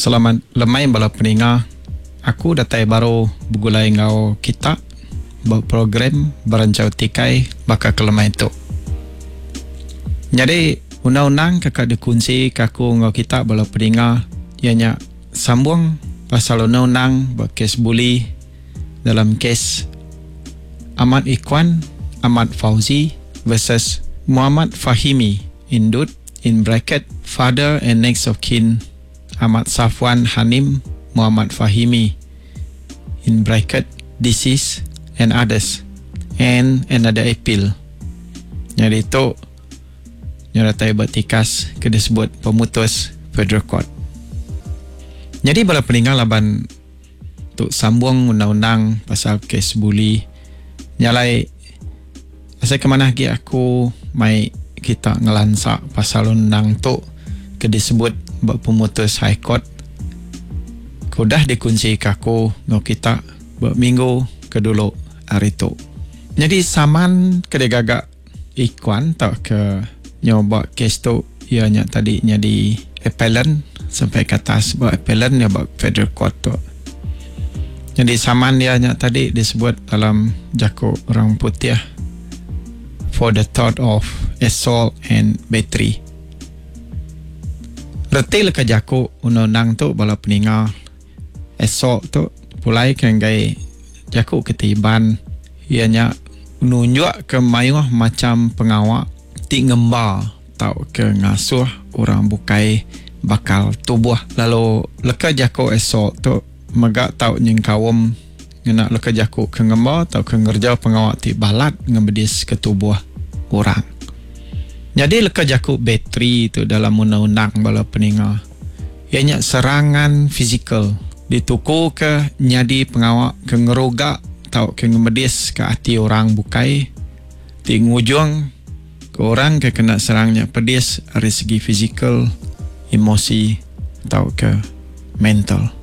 Selamat lemai bala peninga. Aku datai baru begulai enggau kita ba program Beranchau Tikai baka ke lemai tu. Nyadi undang-undang ke ka dikunsi ke aku enggau kita bala peninga iya nya sambung pasal undang-undang ba kes buli dalam kes Ahmad Ikhwan Ahmad Fauzi versus Muhammad Fahimi Indut in bracket father and next of kin Ahmad Safwan Hanim Muhammad Fahimi in bracket deceased and others and another appeal. Nyadi tu nyeratai ba tikas ke disebut pemutus Federal Court. Nyadi bala peninga laban tu sambung undang-undang pasal kes buli nya alai asai ke manah agi aku mai kita ngelansa pasal undang tu ke disebut ba pemutus High Court ke udah dikunsika aku enggau kita ba minggu ke dulu hari tu. Nyadi saman ke digaga Ikuan tauka nyau ba kes tu iya nya tadi nyadi appellant sampai ke atas ba appellant iya ba Federal Court tu. Nyadi saman iya nya tadi disebut dalam jaku orang putih for the thought of assault and battery. Reti leka jaku undang-undang tu bala peninga assault tu pulai ke enggai jaku keti Iban iya nya nunjukka mayuh macham pengawa ti ngemba tauka ngasuh orang bukai bakal tubuh lalu leka jaku assault tu mega tau nyengkaum ngena leka jaku ke ngemba tauka ngereja pengawa ti balat ngemediska tubuh orang. Nyadi leka jaku bateri tu dalam undang-undang bala peninga iya nya serangan fizikal ditukuka nyadi pengawa ke ngeruga tauka ngemediska ati orang bukai ti ngujungka orang ke kena serang nya pedis ari segi fizikal, emosi tauka mental.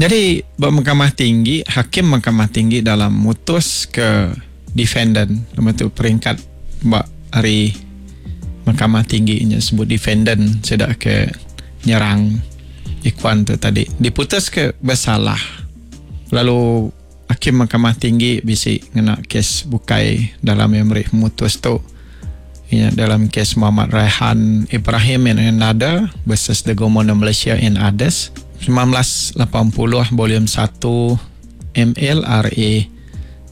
Nyadi ba Mahkamah Tinggi, hakim Mahkamah Tinggi dalam mutuska defendant nama tu peringkat ba ari Mahkamah Tinggi nya sebut defendant sida ke nyerang Ikhwan tu tadi diputuska besalah lalu hakim Mahkamah Tinggi bisi ngena kes bukai dalam iya meri pemutus tu iya dalam kes Muhammad Raihan Ibrahim and another versus the Government of Malaysia and others 1980 volume 1 MLRA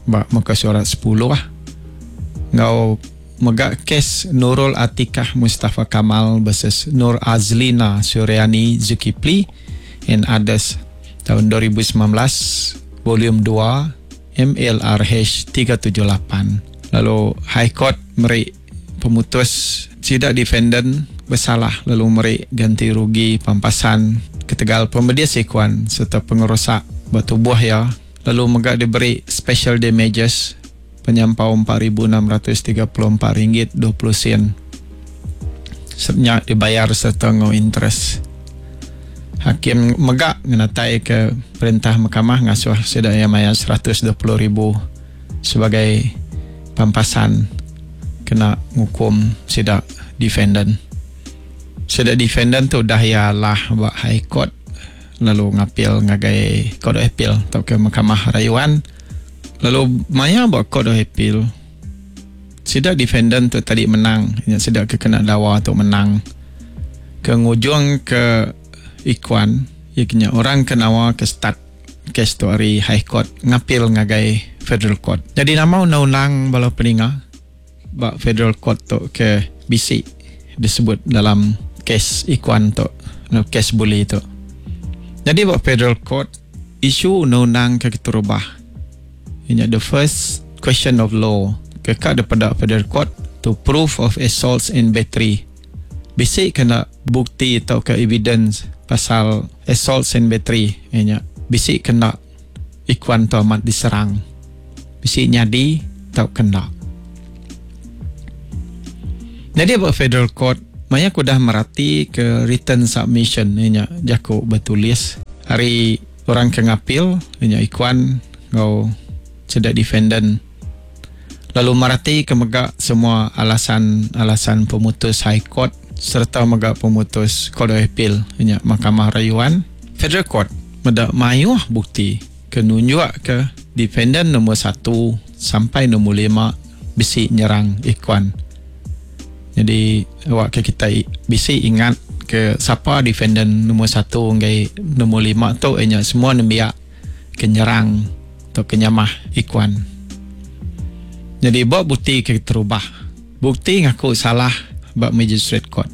ba muka surat sepuluh enggau mega kes Nurul Atikah Mustafa Kamal versus Nur Azlina Suryani Zulkifli and others taun 2019 volume dua MLRH 378 lalu High Court meri pemutus sida defendant besalah lalu meri ganti rugi pampasan ketegal pemedis ikuan sereta pengerusak ba tubuh iya lalu mega diberi special damages penyampau RM4,634 ringgit 20 sen nya dibayar sereta enggau interest. Hakim mega ngenataika perintah mahkamah ngasuh sida iya mayar 120 ribu sebagai pampasan kena ngukum sida defendant. Sida defendant tu udah iya alah ba High Court lalu ngapil ngagai Court of Appeal tauka Mahkamah Rayuan lalu maya ba Court of Appeal sida defendant tu tadi menang nya sida ke kena dawa tu menang ke ngujung ke Ikuan iya ke nya orang ke nawa ke start kes tu ari High Court ngapil ngagai Federal Court. Nyadi nama undang-undang bala peninga ba Federal Court tu ke bisi disebut dalam kes Ikuan tu enggau kes buli tu. Nyadi ba Federal Court isu undang-undang ke keterubah iya nya the first question of law ke ka dipeda Federal Court to proof of assaults and battery bisi ke enda bukti tauka evidence pasal assaults and battery iya nya bisi ke enda Ikuan tu amat diserang. Bisi nyadi tauka enda. Nyadi ba Federal Court, maya ke udah merati ke written submission iya nya jaku betulis ari orang ke ngapil iya nya Ikuan enggau sida defendant lalu merati ke mega semua alasan-alasan pemutus High Court. sereta mega pemutus Court of Appeal iya nya Mahkamah Rayuan Federal Court meda mayuh bukti ke nunjukka defendan nombor satu sampai nombor lima bisi nyerang Ikhwan. Nyadi awakka kitai bisi ingat ke sapa defendan nombor satu enggai nombor lima tu iya nya semua nembiak ke nyerang tauka nyamah Ikhwan. Nyadi ba bukti ke keterubah, bukti ngaku salah ba Magistrate Court.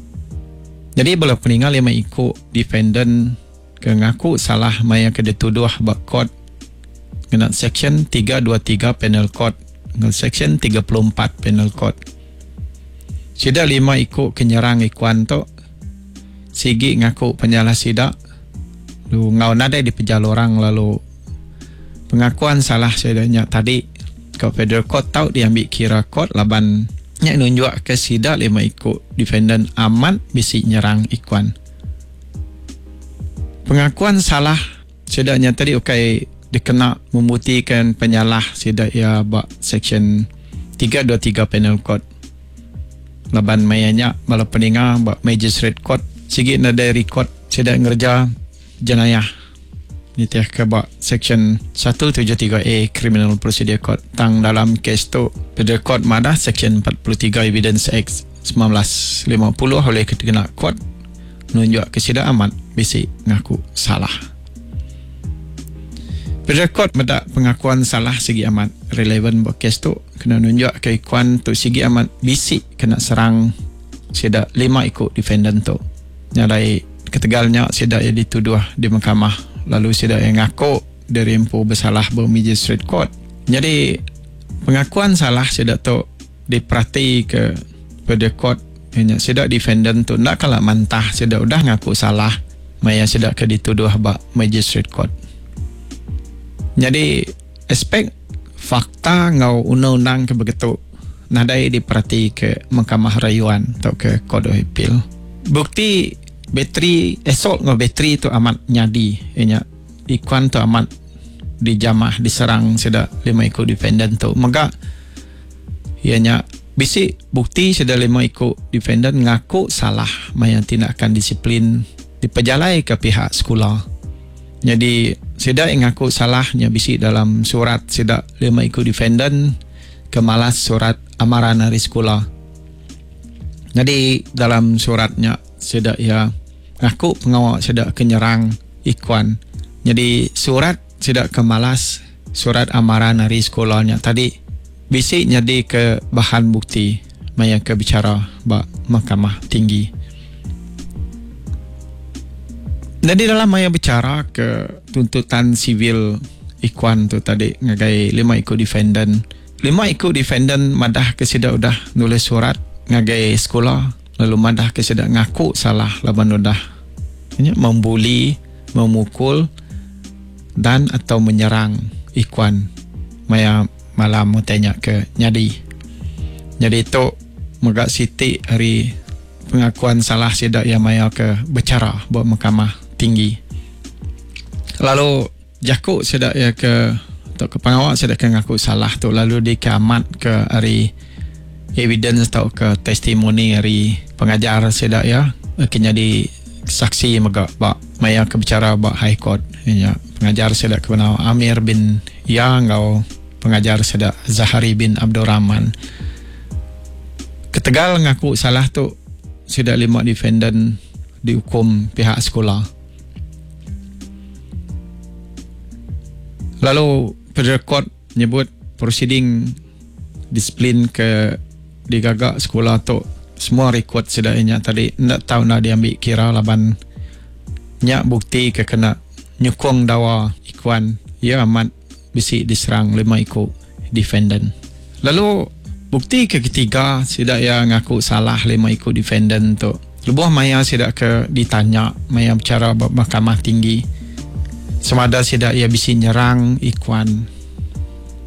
Nyadi bala peninga lima iku defendan ke ngaku salah maya ke dituduh ba court ngena Seksyen 323 Penal Code enggau Seksyen 34 Penal Code. Sida lima iku ke nyerang Ikhwan tu sigi ngaku penyalah sida lalu enggau nadai dipejal orang lalu pengakuan salah sida nya tadi ke Federal Court tau diambi kira court laban nya nunjukka sida lima iku defendant amat bisi nyerang Ikhwan. Pengakuan salah sida nya tadi ukai dikena membuktikan penyalah sida iya ba Seksyen 323 Penal Code. Laban maya nya bala peninga ba Magistrate Court sigi nadai rekod sida ngereja jenayah nitihka ba Seksyen 173A Criminal Procedure Code. Tang dalam kes tu Federal Court madah Seksyen 43 Evidence Act 1950 ulih dikena court nunjukka sida amat bisi ngaku salah. Perekod meda pengakuan salah sigi amat relevan ba kes tu kena nunjukka ikuan tu sigi amat bisi kena serang sida lima iku defendan tu. Nya alai ketegal nya sida iya dituduh di mahkamah lalu sida iya ngaku diri empu besalah ba Magistrate Court. Nyadi pengakuan salah sida tu diperatika Federal Court iya nya sida defendant tu enda kala mantah sida udah ngaku salah maya sida ke dituduh ba Magistrate Court. Nyadi aspek fakta enggau undang-undang ke begitu nadai diperatika Mahkamah Rayuan tauka Court of Appeal. Bukti bateri assault enggau bateri tu amat nyadi iya nya ikuan tu amat dijamah diserang sida lima iku defendant tu mega iya nya bisi bukti sida lima iku defendant ngaku salah maya tindakan disiplin dipejalaika pihak sekula. Nyadi sida iya ngaku salah nya bisi dalam surat sida lima iku defendant ke malas surat amaran ari sekula. Nyadi dalam surat nya sida iya ngaku pengawa sida ke nyerang Ikuan. Nyadi surat sida ke malas surat amaran ari sekula nya tadi bisi nyadika bahan bukti maya ke bichara ba Mahkamah Tinggi. Nyadi dalam maya bichara ke tuntutan sivil Ikuan tu tadi ngagai lima iku defendant. Lima iku defendant madahka sida udah nulis surat ngagai sekula lalu madahka sida ngaku salah laban udah nya membuli, memukul dan atau menyerang Ikuan maya malam utai nya ke nyadi. Nyadi tu mega siti ari pengakuan salah sida iya maya ke bechara ba Mahkamah Tinggi. Lalu jaku sida iya ke tauka pengawa sida ke ngaku salah tu lalu dikeamatka ari evidence tauka testimoni ari pengajar sida iya ke nyadi saksi mega ba maya ke bechara ba High Court iya nya pengajar sida ke benama Amir bin Ya enggau pengajar sida Zahari bin Abdul Rahman. Ketegal ngaku salah tu sida lima defendant diukum pihak sekula. Lalu Federal Court nyebut prosiding disiplin ke digaga sekula tu semua rekod sida iya nya tadi enda tau enda diambi kira laban nya bukti ke kena nyukung dawa Ikuan iya amat bisi diserang lima iku defendant. Lalu bukti ke ketiga sida iya ngaku salah lima iku defendant tu lebuh maya sida ke ditanya maya bechara ba Mahkamah Tinggi semada sida iya bisi nyerang Ikuan.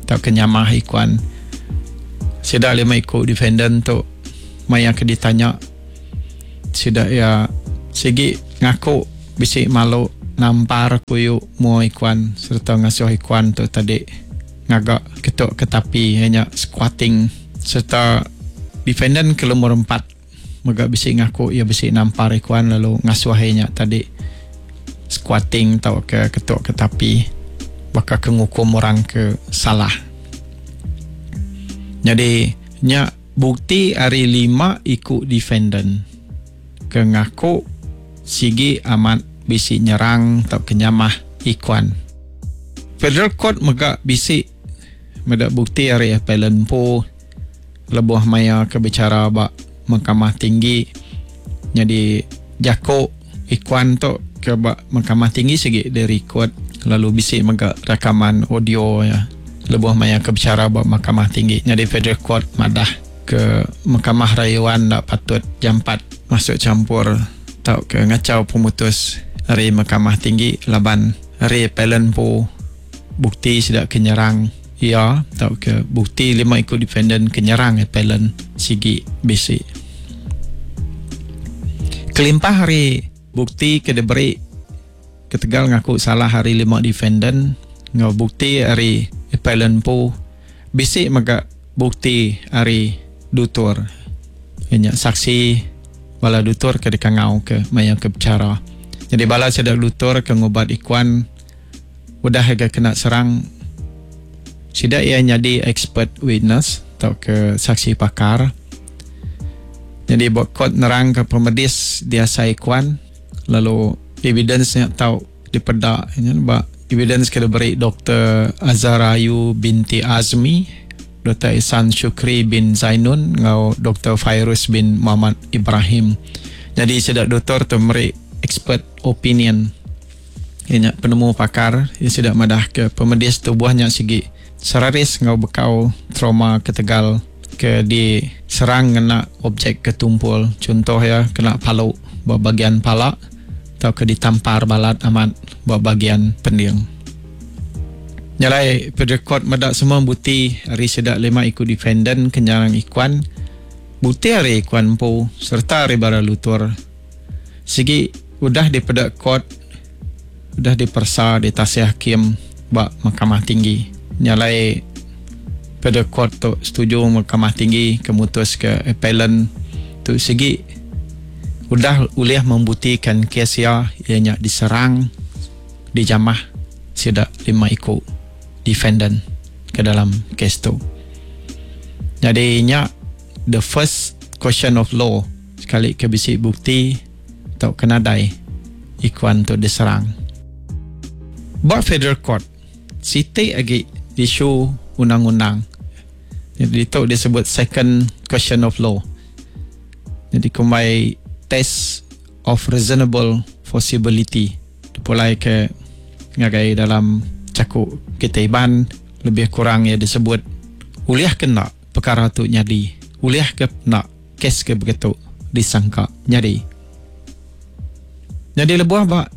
Tauka nyamah ikuan. Sida lima iku defendant tu maya ke ditanya sida iya sigi ngaku bisi malu nampar kuyu mua ikuan sereta ngasuh ikuan tu tadi ngaga ketu ke tapi iya nya squatting sereta defendant ke lumur empat. mega bisi ngaku iya bisi nampar Ikuan lalu ngasuh iya nya tadi squatting tauka ketuk ke tapi baka ke ngukum orang ke salah. Nyadi nya bukti ari lima iku defendant ke ngaku sigi amat bisi nyerang tauka nyamah Ikuan. Federal Court mega bisi meda bukti ari appellant empu lebuh maya ke bichara ba Mahkamah Tinggi nyadi jaku Ikuan tu ke ba Mahkamah Tinggi sigi dirikod lalu bisi mega rakaman audio iya lebuh maya ke bichara ba Mahkamah Tinggi nyadi Federal Court madah ke Mahkamah Rayuan enda patut jampat masuk champur tauka ngachau pemutus ari Mahkamah Tinggi laban ari Appellant empu bukti sida ke nyerang iya tauka bukti lima iku defendant ke nyerang appellant sigi bisi. Kelimpah ari bukti ke diberi ketegal ngaku salah ari lima defendant enggau bukti ari appellant empu, bisi mega bukti ari dutur iya nya saksi bala dutur ke dikangau ke maya ke bechara. Nyadi bala sida dutur ke ngubat Ikuan Udah ga kena serang sida iya nyadi expert witness tauka saksi pakar. Nyadi ba court nerangka pemedis diasai kuan lalu evidence nya tau dipeda nya ba evidence ke diberi Doktor Azharayu binti Azmi, Doktor Ihsan Shukri bin Zainun enggau Doktor Fairuz bin Muhammad Ibrahim. Nyadi sida doktor tu meri expert opinion. Iya nya penemu pakar iya sida madahka pemedis tubuh nya sigi seraris enggau bekau trauma ketegal ke diserang ngena objek ke tumpul chunto iya kena palu ba bagian pala tauka ditampar balat amat ba bagian pending. Nya alai Federal Court meda semua buti ari sida lima iku defendant ke nyerang Ikuan, buti ari Ikuan empu sereta ari bara lutur. Sigi udah dipeda court udah diperesa ditasih hakim ba Mahkamah Tinggi. Nya alai peda court tu setuju Mahkamah Tinggi ke mutus ke appellant tu sigi udah ulih membuktikan kes iya iya nya diserang dijamah sida lima iku defendant ke dalam kes tu. Nyadi nya the first question of law. Sekali ke bisi bukti tauka nadai, Ikuan tu diserang. Ba Federal Court, siti agi isu undang-undang. Nyadi ditu disebut second question of law. Nyadi kumbai test of reasonable foreseeability. Dipulai ke ngagai dalam jaku kitai Iban lebih kurang iya disebut ulih ke enda pekara tu nyadi, ulih ke enda Kes ke begitu disangka nyadi. Nyadi lebuh ba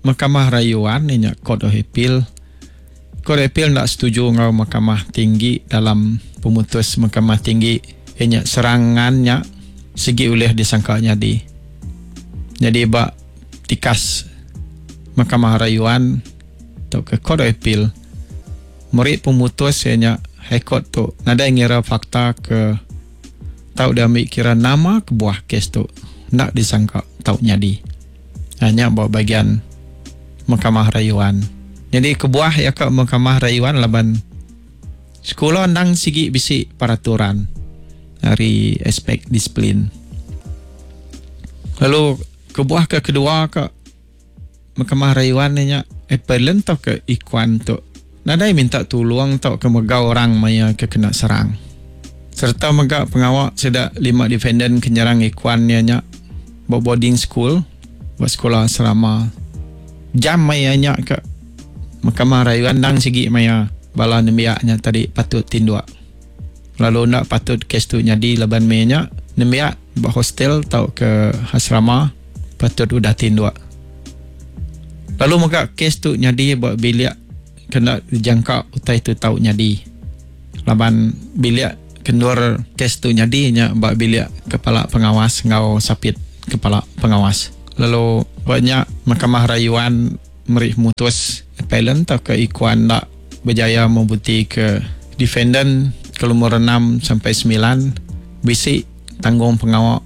Mahkamah Rayuan iya nya Court of Appeal, Court of Appeal enda setuju enggau Mahkamah Tinggi dalam pemutus Mahkamah Tinggi iya nya serangan nya sigi ulih disangka nyadi. Nyadi ba tikas Mahkamah Rayuan tauka Court of Appeal meri pemutus iya nya High Court tu nadai ngira fakta ke Tau diambi kira nama kebuah kes tu enda disangka tau nyadi. Nya ba bagian Mahkamah Rayuan. Nyadi kebuah iya ka Mahkamah Rayuan laban sekula endang sigi bisi peraturan ari aspek disiplin. Lalu kebuah ke kedua ka Mahkamah Rayuan nya appellant tauka ikuan tu nadai minta tulung tauka mega orang maya ke kena serang. Sereta mega pengawa sida lima defendant ke nyerang ikuan iya nya ba boarding school ba sekula asrama. Jam maya nya ke Mahkamah Rayuan endang sigi maya bala nembiak nya tadi patut tinduk. Lalu enda patut kes tu nyadi laban maya nya nembiak ba hostel tauka asrama patut udah tinduk. Lalu mega kes tu nyadi ba bilik ke enda dijangka utai tu tau nyadi. Laban bilik ke endur kes tu nyadi nya ba bilik kepala pengawas enggau sapit kepala pengawas. Lalu ba nya Mahkamah Rayuan meri pemutus appellant tauka ikuan enda bejaya membutika defendant ke lumur enam sampai semilan bisi tanggung pengawa.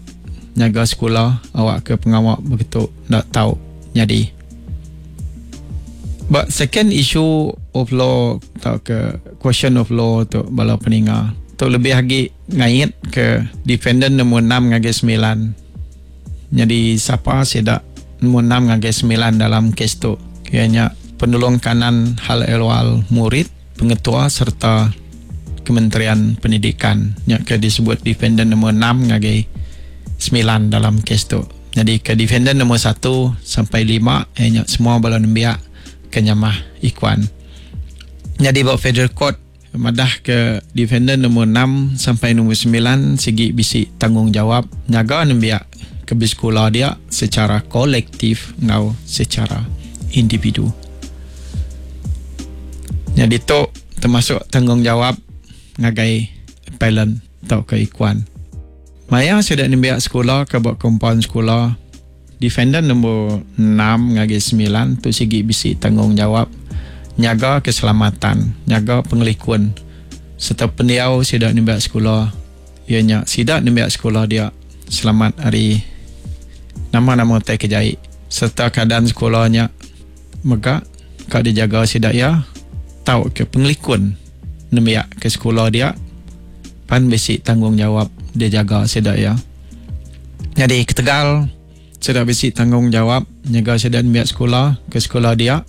nyaga sekula awakka pengawa begitu enda tau nyadi. Ba second issue of law tauka question of law tu bala peninga tu lebih agi ngait ke defendant nombor enam ngagai semilan. Nyadi sapa sida nombor enam ngagai semilan dalam kes tu iya nya Penolong Kanan Hal Ehwal Murid, Pengetua sereta Kementerian Pendidikan nya ke disebut defendant nombor enam ngagai semilan dalam kes tu. Nyadi ke defendant nombor satu sampai lima iya nya semua bala nembiak ke nyamah Ikuan. Nyadi ba Federal Court madah ke defendant nombor enam sampai nombor semilan sigi bisi tanggungjawab nyaga nembiak ke besekula dia secara kolektif enggau secara individu. Nyadi tu termasuk tanggungjawab ngagai appellant tauka ikuan. Maya sida nembiak sekula ke ba kompaun sekula, defendant nombor enam ngagai semilan tu sigi bisi tanggungjawab nyaga keselamatan, nyaga pengelikun sereta pendiau sida nembiak sekula iya nya sida nembiak sekula dia selamat ari nama-nama utai ke jai sereta keadaan sekula nya mega ka dijaga sida iya tauka pengelikun nembiak ke sekula dia pan bisi tanggungjawab dijaga sida iya. Nyadi ketegal sida bisi tanggungjawab nyaga sida nembiak sekula ke sekula dia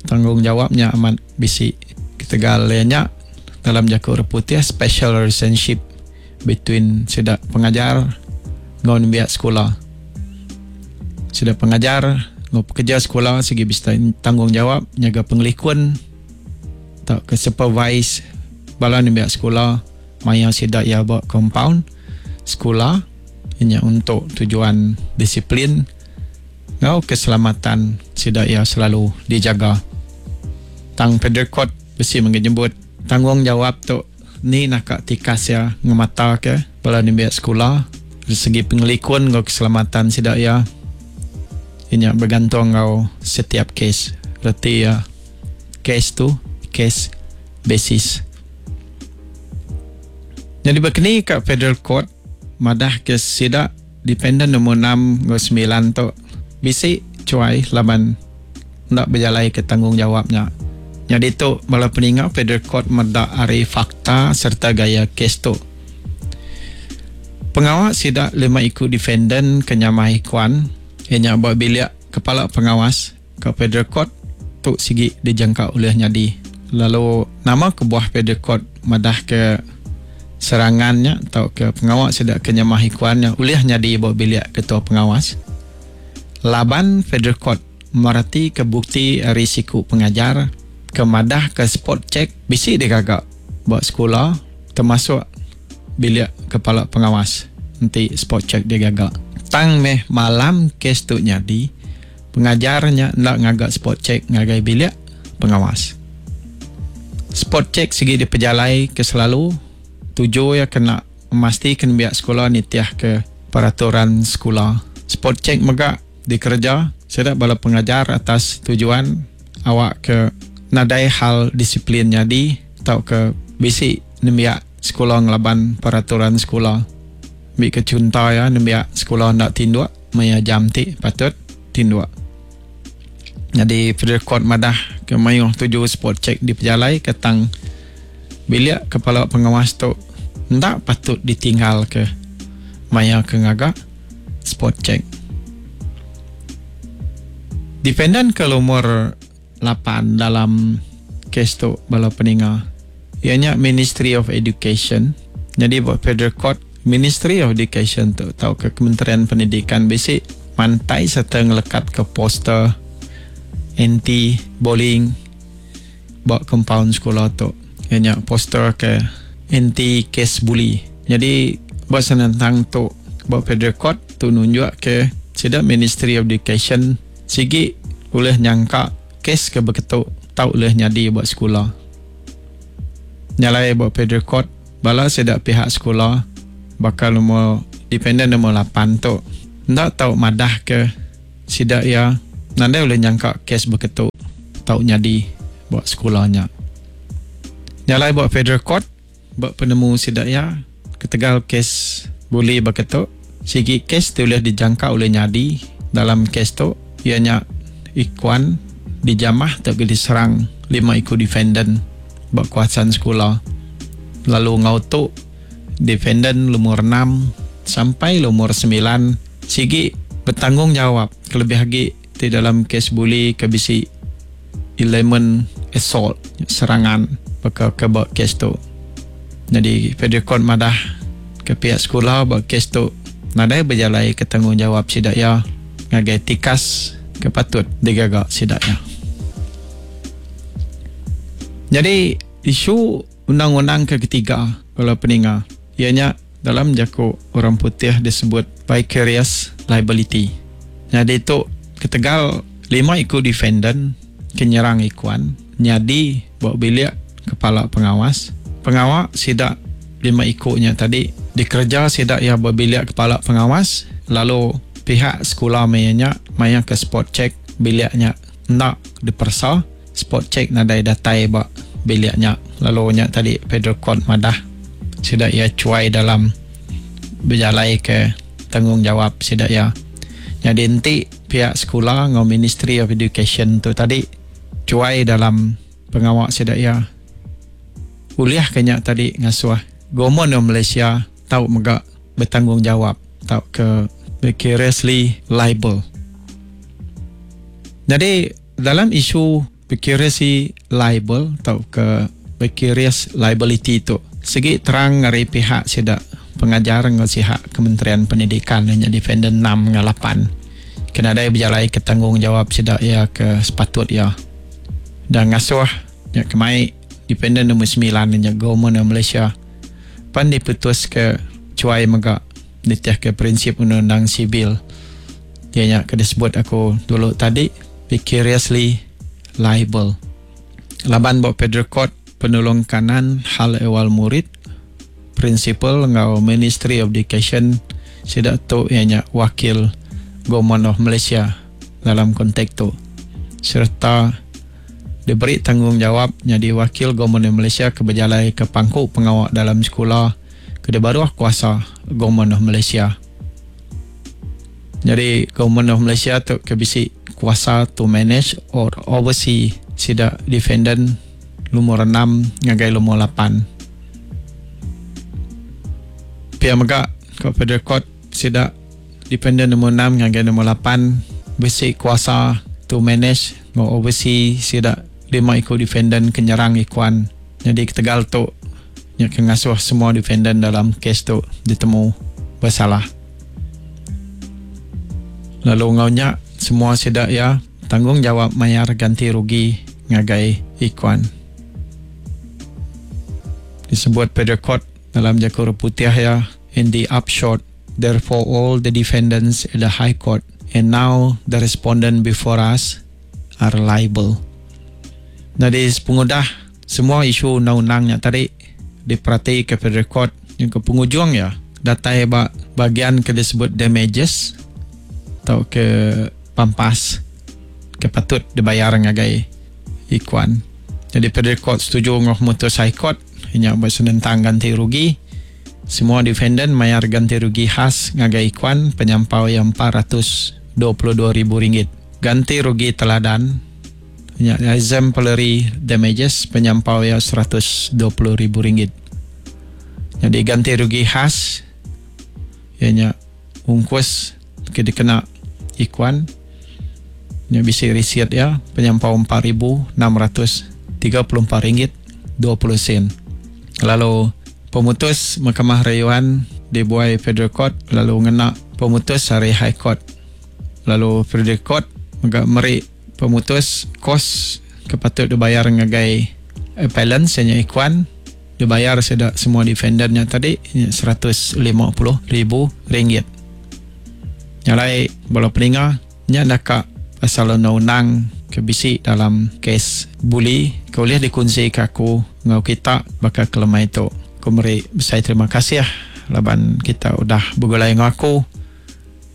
tanggungjawab nya amat bisi ketegal iya nya dalam jaku orang putih special relationship between sida pengajar enggau nembiak sekula. Sida pengajar enggau pekerja sekula sigi bisi tanggungjawab nyaga pengelikun tauka supervise bala nembiak sekula maya sida iya ba compound sekula inya untuk tujuan disiplin enggau keselamatan sida iya selalu dijaga. Tang Federal Court bisi mega nyebut tanggungjawab tu Ni naka tikas iya ngemataka bala nembiak sekula ari segi pengelikun enggau keselamatan sida iya. Iya nya begantung enggau setiap kes. Reti iya kes tu case basis. Nyadi baka ni ka Federal Court madah ke sida dependent nombor enam enggau semilan tu bisi chuai laban enda bejalaika tanggungjawap nya. Nyadi tu bala peninga Federal Court meda ari fakta sereta gaya kes tu. Pengawa sida lima iku defendant ke nyamah Ikuan iya nya ba bilik Kepala Pengawas ka Federal Court tu sigi dijangka ulih nyadi. Lalu nama kebuah Federal Court madahka serangan nya tauka pengawa sida ke nyamah Ikuan nya ulih nyadi ba bilik Ketua Pengawas? Laban Federal Court meratika bukti ari siku pengajar ke madahka spot check bisi digaga ba sekula termasuk bilik kepala pengawas enti spot check digaga. Tang meh malam kes tu nyadi, pengajar nya enda ngaga spot check ngagai bilik pengawas. Spot check sigi dipejalai ke selalu tuju iya kena memastikan nembiak sekula nitihka peraturan sekula. Spot check mega dikereja sida bala pengajar atas tujuan awakka nadai hal disiplin nyadi tauka bisi nembiak sekula ngelaban peraturan sekula. Ambika chunto iya nembiak sekula enda tinduk maya jam ti patut tinduk. Nyadi Federal Court madah ke mayuh tuju spot check dipejalaika tang bilik kepala pengawas tu enda patut ditinggalka maya ke ngaga spot check. Defendant ke lumur lapan dalam kes tu bala peninga iya nya Ministry of Education. Nyadi ba Federal Court, Ministry of Education tu tauka Kementerian Pendidikan bisi mantai sereta ngelekatka poster anti bullying ba kompaun sekula tu iya nya poster ke anti kes bully. Nyadi ba senentang tu ba Federal Court tu nunjukka sida Ministry of Education Sigi ulih nyangka kes ke beketu tau ulih nyadi ba sekula. Nya alai ba Federal Court, bala sida pihak sekula baka lumur dependent lumur lapan tu enda tau madahka sida iya nadai ulih nyangka kes beketu tau nyadi ba sekula nya. Nya alai ba Federal Court, ba penemu sida iya ketegal kes buli baka tu. Sigi kes ti ulih dijangka ulih nyadi dalam kes tu iya nya Ikwan dijamah tauka diserang lima iku defendan ba kawasan sekula lalu enggau tu defendan lumur enam sampai lumur semilan sigi betanggungjawab kelebih agi ti dalam kes buli ke bisi elemen assault, serangan, baka ke ba kes tu. Nyadi Federal Court madah ke piak sekula ba kes tu nadai bejalaika tanggungjawab sida iya ngagai tikas ke patut digaga sida iya. Nyadi isu undang-undang ke ketiga bala peninga iya nya dalam jaku orang putih disebut vicarious liability. Nyadi tu ketegal lima iku defendant ke nyerang Ikuan nyadi ba bilik kepala pengawas. Pengawa sida lima iku nya tadi dikereja sida iya ba bilik kepala pengawas lalu pihak sekula maya nya maya ke spot check bilik nya enda diperesa. Spot check nadai datai ba bilik nya lalu nya tadi Federal Court madah sida iya chuai dalam bejalaika tanggungjawab sida iya. Nyadi enti piak sekula enggau Ministry of Education tu tadi chuai dalam pengawa sida iya ulih ke nya tadi ngasuh Government of Malaysia tau mega betanggungjawab tauka vicariously liable. Nyadi Dalam isu vicariously liable tauka vicarious liability tu sigi terang ari pihak sida pengajar enggau sihak Kementerian Pendidikan nya defendant enam enggau lapan ke nadai bejalaika tanggungjawab sida iya ke sepatut iya dan ngasuh nya kemai defendant nombor semilan nya Government of Malaysia pan diputuska chuai mega nitihka prinsip undang-undang sivil iya nya ke disebut aku dulu tadi vicariously liable laban ba Federal Court Penulung Kanan Hal Ehwal Murid Principal enggau Ministry of Education sida tu iya nya wakil Government of Malaysia dalam kontek tu sereta diberi tanggungjawab nyadi wakil Government of Malaysia ke bejalaika pangku pengawa dalam sekula ke dibaruh kuasa Government of Malaysia. Nyadi Government of Malaysia tu ke bisi kuasa to manage or oversee sida defendant lumur enam ngagai lumur lapan. Pia mega ko Federal Court sida defendant lumur enam ngagai lumur lapan bisi kuasa to manage enggau oversee sida lima iku defendant ke nyerang Ikuan. Nyadi ketegal tu Nya ke ngasuh semua defendant dalam kes tu ditemu besalah. Lalu enggau nya, semua sida iya tanggungjawab mayar ganti rugi ngagai Ikuan. Disebut Federal Court dalam jaku orang putih iya, In the upshot, therefore all the defendants at the High Court and now the respondent before us are liable. Nyadi sepengudah Semua isu undang-undang nya tadi diperatika Federal Court nyengka pengujung iya datai ba bagian ke disebut damages tauka pampas ke patut dibayar ngagai Ikuan. Nyadi Federal Court setuju enggau pemutus High Court iya nya ba senentang ganti rugi. Semua defendant mayar ganti rugi khas ngagai Ikuan penyampau iya 422 ribu ringgit. Ganti rugi teladan. Nya exemplary damages penyampau iya 120 ribu ringgit. Nyadi ganti rugi khas iya nya ungkus ke dikena Ikuan nya bisi risit iya penyampau 4634 ringgit 20 sen. Lalu pemutus Mahkamah Rayuan dibuai Federal Court lalu ngena pemutus ari High Court. Lalu Federal Court mega meri Pemutus kos ke patut dibayar ngagai appellant iya nya Ikuan dibayar sida semua defendant nya tadi nya 150 ribu ringgit. Nya alai bala peninga nya naka pasal undang-undang ke bisi dalam kes buli ke ulih dikunsika aku enggau kita baka ke lemai tu. Aku meri besai terima kasih laban kita udah begulai enggau aku.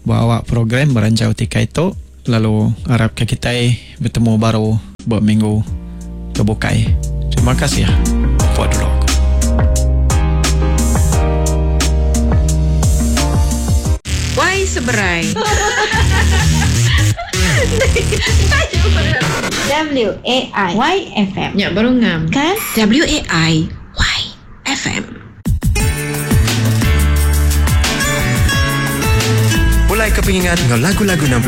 Ba awak program Beranjau Tikai tu lalu arapka kitai betemu baru ba minggu ke bukai. Terima kasih. Pupuk dulu aku. seberai. W A I Y F M. Nya baru ngam. Kan? W A I Y F M. Pulai ke pengingat enggau lagu-lagu 60.